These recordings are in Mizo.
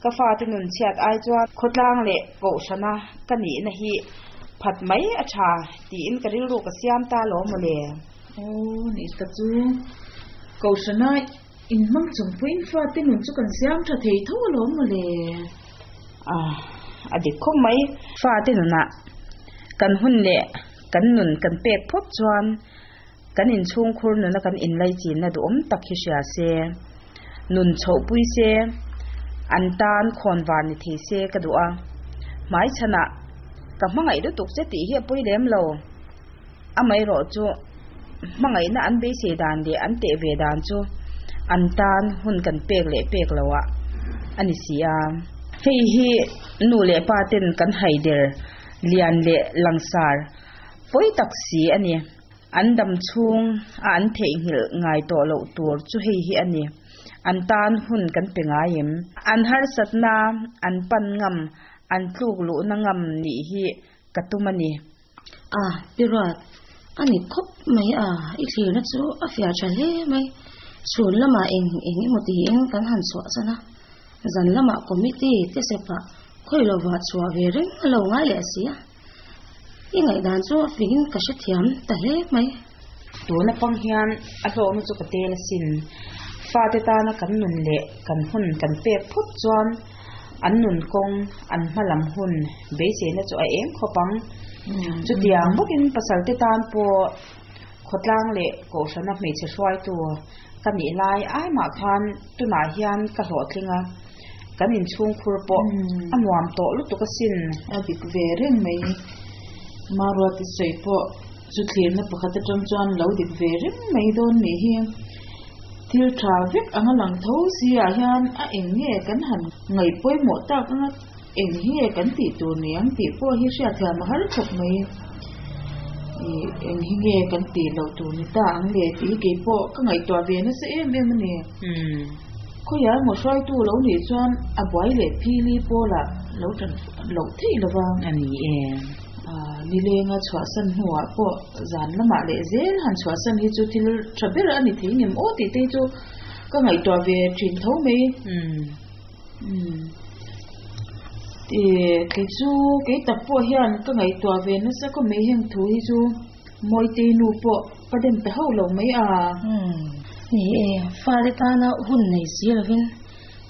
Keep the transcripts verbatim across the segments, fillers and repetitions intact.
Ka fate nun chhiat ai chuan khawtlang leh kohhrana ka nihna hi phat mai a tha tiin ka rilru ka siam ta alawm mawle. Aw ni ta chu kohhrana in hmang chung pawhin fate nun chu kan siam tha thei tho alawm mawle. Ah, a dik khawp mai. Fate nunah kan hun leh kan nun kan pek phawt chuan kan inchhungkhur nuna kan inlaichinna duhawm tak hi hria se, nun chhohpui se, an tan khawnvar ni thei se ka duh a. Hmaichhanah ka hmangaih lutuk che tih hi a pawi lem lo. Amaherawhchu hmangaihna an beisei dan leh an teh ve dan chu an tan hun kan pek leh pek lo ah a ni si a. Hei hi nu leh pa ten kan haider lian leh langsar pawi tak si a ni. An dam chhung a an theihnghilh ngai tawh loh tur chu hei hi a ni. An tan hun kan pe ngai em. An harsatna, an pan ngam, an tluk luhna ngam nih hi ka tum a ni. A, Pi Ruat, a ni khawp mai a, i thlirna chu a fiah tha hle mai. Chhun lamah eng eng emaw tiin kan han chhuah chan a, zan lamah committee te sepah khawi lovah chhuah ve reng a lo ngai leh si a. I ngaihdan chu a fingin ka hrethiam ta hle mai. Tuna pang hian a hlawhna chu ka tel asin. Fate tana kan nun leh kan hun kan pek phawt chuan an nun kawng, an hma lam hun beiseina chu a eng khawp ang. Chutiang bawkin pasalte tan pawh khawtlang leh kohhrana hmeichhe hruaitu ka nih lai ai mah khan tunah hian ka hlawhtling a, kan inchhungkhur pawh a nuam tawh lutuk asin. A dik ve reng mai. Maruati sawi pawh chu thlirna pakhat atang chuan lo dik ve reng mai dawn nih hi. Thil tha vek anga lang tho si ah hian a eng nge kan han ngaih pawimawh tak anga eng hi nge kan tih tur ni ang tih pawh hi hriatthiam a har khawp mai. Ih eng hi nge kan tih loh tur ni ta ang le tih hi kei pawh ka ngaihtuah ve nasa em em a ni. Khawiah emaw hruaitu lo nih chuan a buai leh phili pawlah lo tan loh theih lova. A ni e. Ah, nilenga chhuahsan hnuah pawh zan lamah leh zel han chhuahsan hi chu thil tha ber a ni thei ngem aw tih te hi chu ka ngaihtuah ve thin tho mai. Um. Ih kei chu kei tak pawh hian ka ngaihtuah ve nasa khawp mai heng thu hi chu Mawitei nu pawh ka dem ta hauh lo mai a. Um. Ni e, fate tana hun nei si lovin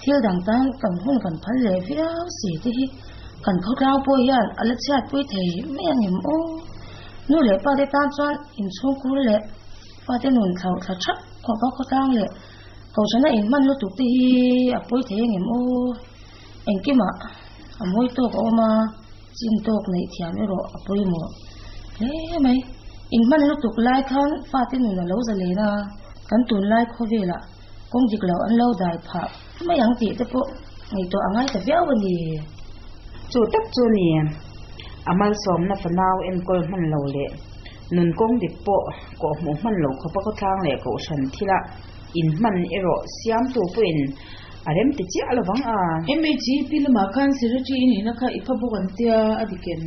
thil dang tan kan hun kan phal leh viau si te hi kan khawtlang pawh hian a la chhiatpui thei mai ang em aw. Nu leh pa te tan chuan inchhungkhur leh fate nun thlauh thla thap khawpa khawtlang leh kohhrana inhman lutuk te hi a pawi thei ang em aw. Engkimah a mawi tawk a awm a, chin tawk neih thiam erawh a pawimawh hle mai. Inhman lutuk lai khan fate nun a lo zalen a, kan tunlai khawvelah kawng dik lo an lo dai phah mai ang tih te pawh ngaihtuah a ngai ta viau a ni. Chu tak chu ni. A malsawmna fanau enkawl hman lo leh nun kawng dik pawh kawhhmuh hman lo khawpa khawtlang leh kohhran thila inhman erawh siamtu pawhin a rem ti chiah lovang a. M H E P lamah khan secretary i nihna kha i pha bawk an tia a dik em?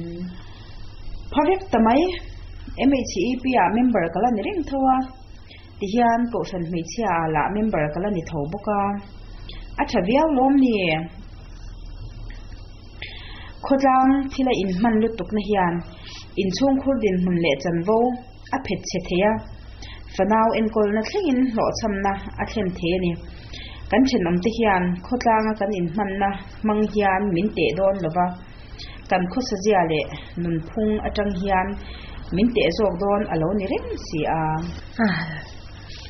Pha vek ta mai. M H E P ah member ka la ni reng tho a. Tihian kohhran hmeichhia ah lah member ka la ni tho bawk a. A tha viau lawm ni. Khawtlang thila inhman lutukna hian inchhungkhur dinhmun leh chanvo a phet chhe thei a. Fanau enkawlna thlengin hlawhchhamna a thlen thei a ni. Kan thenawm te hian khawtlanga kan inhmanna hmang hian min teh dawn lova. Kan khawsazia leh nunphung atang hian min teh zawk dawn a lo ni reng si a. Ah,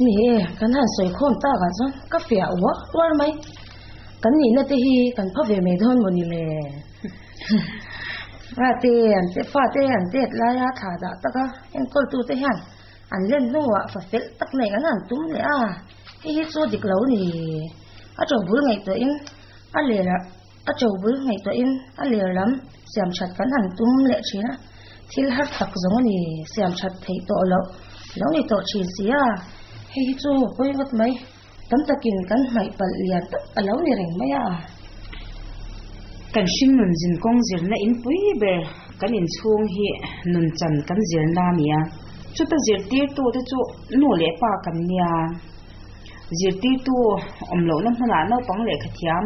ni e, kan han sawi khawm takah chuan ka fiah uar uar mai. Kan nihna te hi kan pha ve mai dawn maw ni le. Fate an te fate an tet laia thla dah taka enkawltu te hian an len hnuah fa fel tak nei an han tum leh a. Hei hi chu dik lo ni. A to bul ngaihtuahin a ler a to bul ngaihtuahin a ler lam siam that kan han tum leh thin a. Thil har tak zawng a ni siam that theih tawh loh lo ni tawh thin si a. Hei hi chu pawi ngawt mai. Tam takin kan hmaih palh lian tak a lo ni reng mai a. Kan hring nun zin kawng zirna in pui ber kan inchhung hi nun chan kan zirna a ni a. Chuta zirtirtu te chu nu leh pa kan nia. Zirtirtu awm lohna hmunah naupang lehkha thiam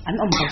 an awm ka